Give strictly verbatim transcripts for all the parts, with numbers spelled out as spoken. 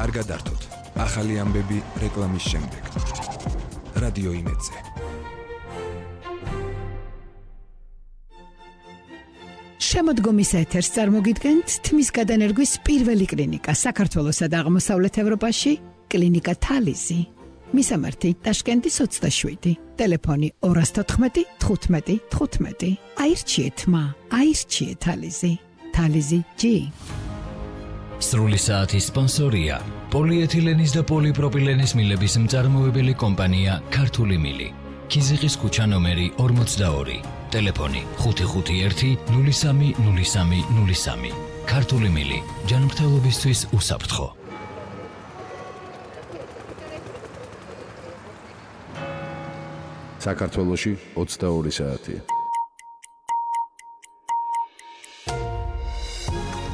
არ გადართოთ. ახალი ამბები რეკლამის შემდეგ. რადიო იმედზე. შემოდგომის ეთერს წარმოგიდგენთ თმის გადანერგვის პირველი კლინიკა საქართველოსა და აღმოსავლეთ ევროპაში, კლინიკა თალიზი. მისამართი ტაშკენტის ოცდაშვიდი, ტელეფონი ორას თოთხმეტი თხუთმეტი თხუთმეტი. აირჩიეთ მა, აირჩიეთ თალიზი. თალიზი ჯი. სრული საათის სპონსორია პოლიეთილენის და პოლიპროპილენის მილების მწარმოებელი კომპანია ქართული მილი. ქიზიყის ქუჩა ნომერი ორმოცდაორი. ტელეფონი ხუთი ხუთი ერთი ნული სამი ნული სამი ნული სამი. ქართული მილი ჯანმრთელობისთვის უსაფრთხო. საქართველოში ოცდაორი საათია.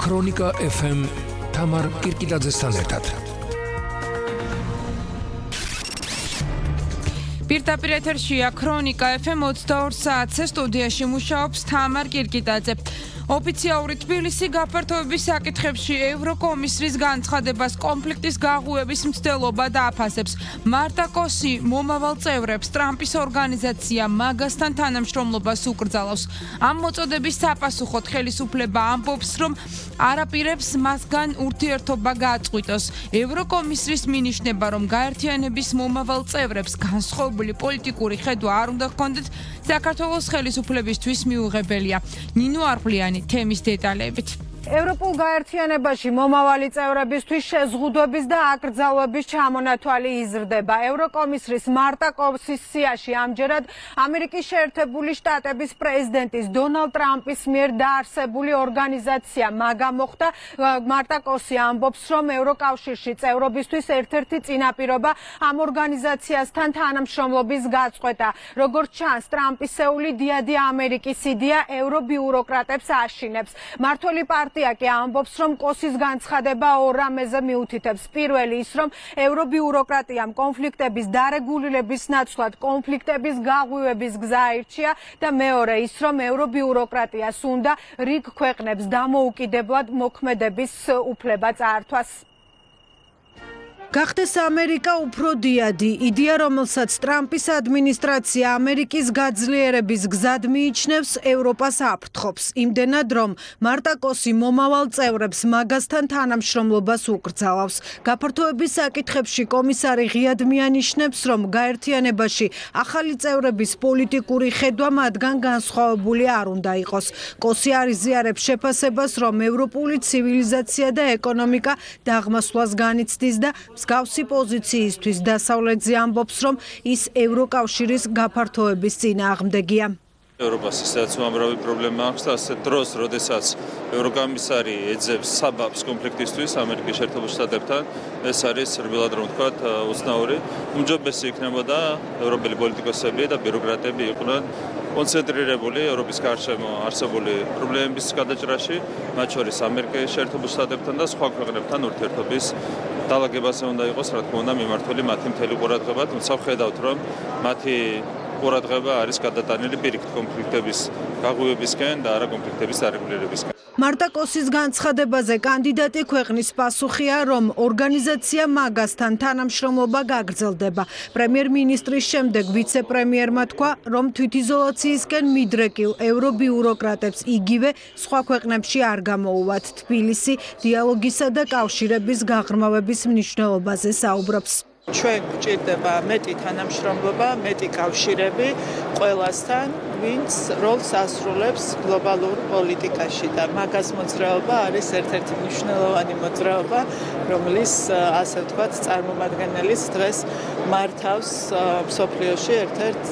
ქრონიკა ეფ ემ თამარ კირკილაძესთან ერთად. პირდაპირ ეთერშია ქრონიკა ეფ ემ ოცდაორ საათზე, სტუდიაში მუშაობს თამარ კირკიტაძე. ოფიციალური თბილისი გაფართოების საკითხებში ევროკომისრის განცხადებას კონფლიქტის გაღუების მცდელობა დააფასებს. მარტა კოსი მომავალ წევრებს ტრამპის ორგანიზაცია მაგასთან თანამშრომლობას უკრძალავს. ამ მოწოდების საპასუხოდ ხელისუფლება ამბობს, რომ არაპირებს მასგან ურთიერთობა გააწყვიტოს. ევროკომისრის მინიშნება, რომ გაერთიანების მომავალ წევრებს განსხვავებული პოლიტიკური ხედვა არ უნდა ჰქონდეთ, საქართველოს ხელისუფლებისთვის მიუღებელია. ნინო არყლიანი თემის დეტალებით. ევროპულ გაერთიანებაში მომავალი წევრებისთვის შეზღუდვების და აკრძალვების ჩამონათვალი იზრდება. ევროკომისრის მარტა კოსის სიაში ამჯერად ამერიკის შეერთებული შტატების პრეზიდენტის დონალდ ტრამპის მიერ დაარსებული ორგანიზაცია მაგა მოხდა. მარტა კოსი ამბობს, რომ ევროკავშირში წევრობისთვის ერთ-ერთი წინაპირობა ამ ორგანიზაციასთან თანამშრომლობის გაწყვეტა. როგორც ჩანს, ტრამპისეული დიადი ამერიკის იდეა ევრობიუროკრატებს აშინებს. მმართველი პარტია კი ამბობს, რომ კოსის განცხადება ორ რამეზე მიუთითებს. პირველი ის, რომ ევრობიუროკრატიამ კონფლიქტების დარეგულირების ნაცვლად კონფლიქტების გაღვივების გზა აირჩია და მეორე ის, რომ ევრობიუროკრატიას უნდა რიგ ქვეყნებს დამოუკიდებლად მოქმედების უფლება წაართვას. გახდეს ამერიკა უფრო დიადი, იდეა, რომელსაც ტრამპის ადმინისტრაცია ამერიკის გაძლიერების გზად მიიჩნევს, ევროპას აფრთხობს. იმდენად, რომ მარტა კოსი მომავალ წევრებს მაგასთან თანამშრომლობას უკრძალავს. გაფართოების საკითხებში კომისარი ღიად მიანიშნებს, რომ გაერთიანებაში ახალი წევრების პოლიტიკური ხედვა მათგან განსხვავებული არ უნდა იყოს. კოსი არ იზიარებს შეფასებას, რომ ევროპული ცივილიზაცია და ეკონომიკა დაღმასვლას განიცდის და მსგავსი პოზიციისთვის დასავლეთზე ამბობს, რომ ის ევროკავშირის გაფართოების წინააღმდეგია. ევროპას ისედაც უამრავი პრობლემა აქვს და ასეთ დროს, როდესაც ევროკომისარი ეძებს საბაბს კონფლიქტისთვის ამერიკის შეერთებულ შტატებთან, ეს არის რბილად რომ ვთქვათ, უცნაური. უმჯობესი იქნებოდა ევროპელი პოლიტიკოსები და ბიუროკრატები იყვნენ კონცენტრირებული ევროპის გარშემო არსებული პრობლემების გადაჭრაში, მათ შორის ამერიკის შეერთებულ შტატებთან და სხვა ქვეყნებთან ურთიერთობის დალაგებაზე უნდა იყოს, რა თქმა უნდა, მიმართული მათი მთელი ყურადღება, თუმცა ვხედავთ, რომ მათი ყურადღება არის გადატანილი პირიქით კონფლიქტების გაღვივებისკენ და არა კონფლიქტების დარეგულირებისკენ. მარტა კოსის განცხადებაზე კანდიდატი ქვეყნის პასუხია, რომ ორგანიზაცია მაგასთან თანამშრომლობა გაგრძელდება. პრემიერ-მინისტრის შემდეგ ვიცე-პრემიერმა თქვა, რომ თვითიზოლაციისკენ მიდრეკილ ევრობიუროკრატებს იგივე სხვა ქვეყნებში არ გამოუვათ. თბილისი დიალოგისა და კავშირების გაღრმავების მნიშვნელობაზე საუბრობს. ჩვენ გვჭირდება მეტი თანამშრომლობა, მეტი კავშირები ყველასთან, ვინც როლს ასრულებს გლობალურ პოლიტიკაში და მაგას მოძრაობა არის ერთ-ერთი მნიშვნელოვანი მოძრაობა, რომლის ასე ვთქვათ, წარმომადგენლის დღეს მართავს მსოფლიოში ერთ-ერთ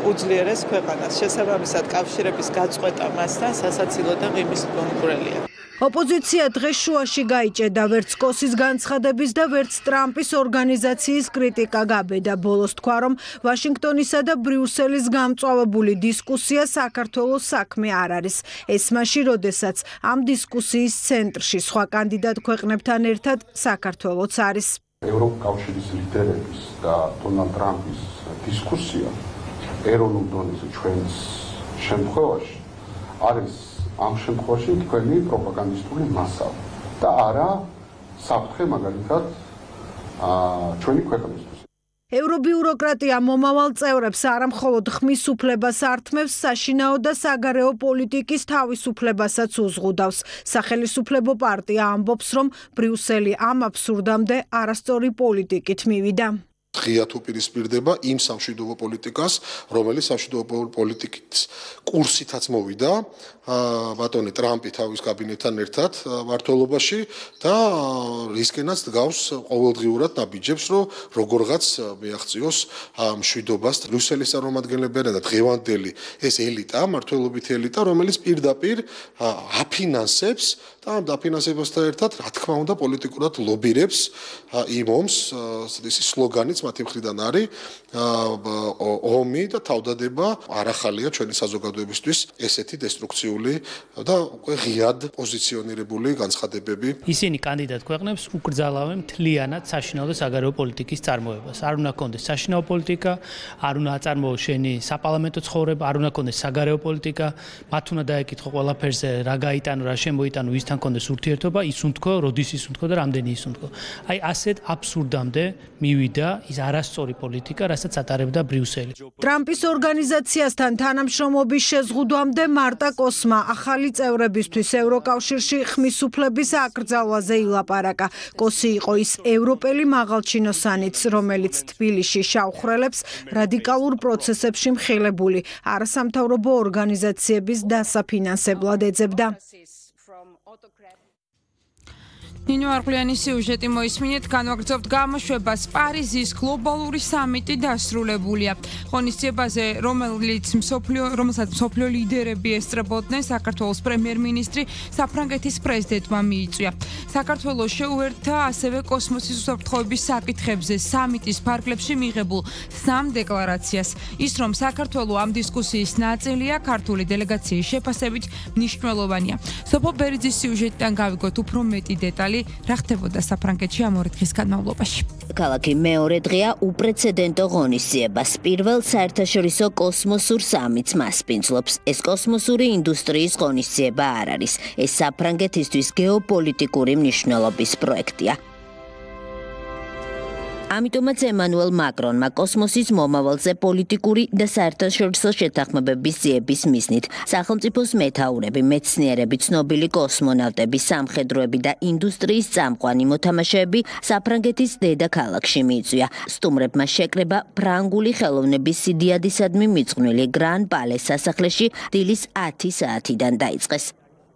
უძლიერეს ქვეყანას. შესაბამისად, კავშირების გაწყვეტა მასთან სასაცილო და ღიმის კონკურენტია. ოპოზიცია დღეს შუაში გაიჭედა ვერც კოსის განცხადების და ვერც ტრამპის ორგანიზაციის კრიტიკა გაბედა. ბოლოს თქვა, რომ ვაშინგტონისა და ბრიუსელის გამწვავებული დისკუსია საქართველოს საქმე არ არის. ეს მაშინ, როდესაც ამ დისკუსიის ცენტრში სხვა კანდიდატ ქვეყნებთან ერთად საქართველოც არის. ევროკავშირის ლიდერების და დონალდ ტრამპის დისკუსია ეროვნულ დონეზე ჩვენს შემთხვევაში არის ამ შემთხვევაში თქვენი პროპაგანდისტული მასალა და არა საფრთხე მაგალითად ჩვენი ქვეყნისთვის. ევრობიუროკრატია მომავალ წევრებს არამხოლოდ ხმის უფლებას ართმევს, საშინაო და საგარეო პოლიტიკის თავისუფლებასაც უზღუდავს. სახელმწიფო პარტია ამბობს, რომ ბრიუსელი ამ აბსურდამდე არასწორი პოლიტიკით მივიდა. ღიად უპირისპირდება იმ სამშვიდობო პოლიტიკას, რომელიც სამშვიდობო პოლიტიკის კურსითაც მოვიდა ბატონი ტრამპი თავის კაბინეტთან ერთად მმართველობაში და რისკენაც დგავს ყოველდღიურად ნაბიჯებს, რომ როგორღაც მიაღწიოს მშვიდობას. ბრიუსელის წარმომადგენლებია და დღევანდელი ეს ელიტა, მმართველობითი ელიტა, რომელიც პირდაპირ აფინანსებს და ამ დაფინანსებასთან ერთად, რა თქმა უნდა, პოლიტიკურად ლობირებს იმ ომს, ეს სლოგანიც მათი მხრიდან არის ომი და თავდადება არ ახალია ჩვენი საზოგადოებისთვის ესეთი დესტრუქციული და უკვე ღიად პოზიციონირებული განცხადებები. ისინი კანდიდატ ქვეყნებს უკრძალავენ მთლიანად საშინაო და საგარეო პოლიტიკის წარმოებას. არ უნდა კონდეს საშინაო პოლიტიკა, არ უნდა აწარმოოს შენი საპარლამენტო ცხოვრება, არ უნდა კონდეს საგარეო პოლიტიკა, მათ უნდა დაეკითხო ყველაფერზე რა გაიტანო, რა შემოიტანო, ვისთან კონდეს ურთიერთობა, ის უნთქო, როდის ის უნთქო და რამდენი ის უნთქო. აი ასეთ აბსურდამდე მივიდა ის არასწორი პოლიტიკა, რასაც ატარებდა ბრიუსელი. ტრამპის ორგანიზაციასთან თანამშრომლობის შეზღუდვამდე მარტა კოსმა ახალი წევრებისთვის ევროკავშირში ხმის უფლების აკრძალვაზე ილაპარაკა. კოსი იყო ის ევროპელი მაღალჩინოსანიც, რომელიც თბილისში შავხრელებს რადიკალურ პროცესებში მხილებული არასამთავრობო ორგანიზაციების დასაფინანსებლად ეძებდა. ნინო არყლიანის სიუჟეტი მოისმინეთ, განვაგრძობთ გამოშვებას. პარიზის გლობალური სამიტი დასრულებულია. ღონისძიებაზე, რომელიც მსოფლიო, რომელსაც მსოფლიო ლიდერები ესწრებოდნენ, საქართველოს პრემიერ-მინისტრი საფრანგეთის პრეზიდენტმა მიიწვია. საქართველოს შეუერთდა ასევე კოსმოსის უსაფრთხოების საკითხებზე სამიტის ფარგლებში მიღებულ სამ დეკლარაციას. ის, რომ საქართველო ამ დისკუსიის ნაწილია, ქართული დელეგაციის შეფასებით მნიშვნელოვანია. სოფო ბერიძის სიუჟეტიდან გავიგოთ უფრო მეტი დეტალი. რა ხდებოდა საფრანგეთში ამ ორი დღის განმავლობაში. ქალაქი მეორე დღეა უპრეცედენტო ღონისძიებას. პირველ საერთაშორისო კოსმოსურ სამიტს მასპინძლობს. ეს კოსმოსური ინდუსტრიის ღონისძიება არ არის. ეს საფრანგეთისთვის გეოპოლიტიკური მნიშვნელობის პროექტია. ამიტომაც ემანუელ მაკრონმა კოსმოსის მომავალზე პოლიტიკური და საერთაშორისო შეთანხმებების ძიების მიზნით სახელმწიფოს მეთაურები, მეცნიერები, ცნობილი კოსმონავტები, სამხედროები და ინდუსტრიის წამყვანი მოთამაშეები საფრანგეთის დედაქალაქში მიიწვია. სტუმრებმა შეკრება ფრანგული ხელოვნების სიდიადისადმი მიძღვნილი გრან პალეს სასახლეში დილის ათი საათიდან დაიწყეს.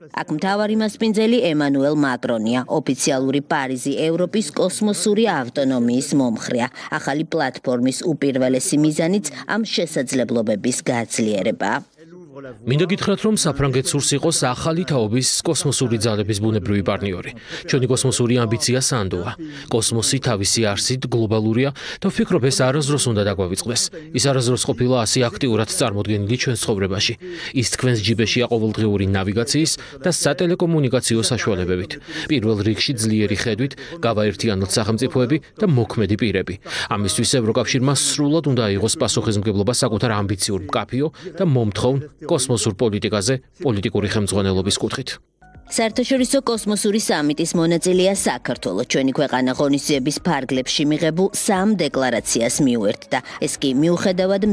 აქ მთავარი მასპინძელი ემანუელ მაკრონია, ოფიციალური პარიზი ევროპის კოსმოსური ავტონომიის მომხრეა. ახალი პლატფორმის უპირველესი მიზანიც ამ შესაძლებლობების გაძლიერებაა. მინდა გითხრათ, რომ საფრანგეთს სურს იყოს ახალი თაობის კოსმოსური ძალების ბუნებრივი პარტნიორი. ჩვენი კოსმოსური ამბიცია სანდოა. კოსმოსი თავისი არსით გლობალურია და ვფიქრობ, ეს არასდროს უნდა დაგვავიწყდეს. ის არასდროს ყოფილა ასე აქტიურად წარმოდგენილი ჩვენს ცხოვრებაში. ის თქვენს ჯიბეშია ყოველდღიური ნავიგაციის და სატელეკომუნიკაციო საშუალებებით. პირველ რიგში ძლიერი ხედვით გავაერთიანოთ სახელმწიფოები და მოქმედი პირები. ამისთვის ევროკავშირმა სრულად უნდა აიღოს პასუხისმგებლობა საკუთარ ამბიციურ მკაფიო და მომთხოვნ კოსმოსურ პოლიტიკაზე პოლიტიკური ხელმძღვანელობის კუთხით. საერთაშორისო კოსმოსური სამიტის მონაწილეა საქართველო. ჩვენი ქვეყანა ღონისძიების ფარგლებში მიღებულ სამ დეკლარაციას მიუერთდა. ეს კი მიუხედავად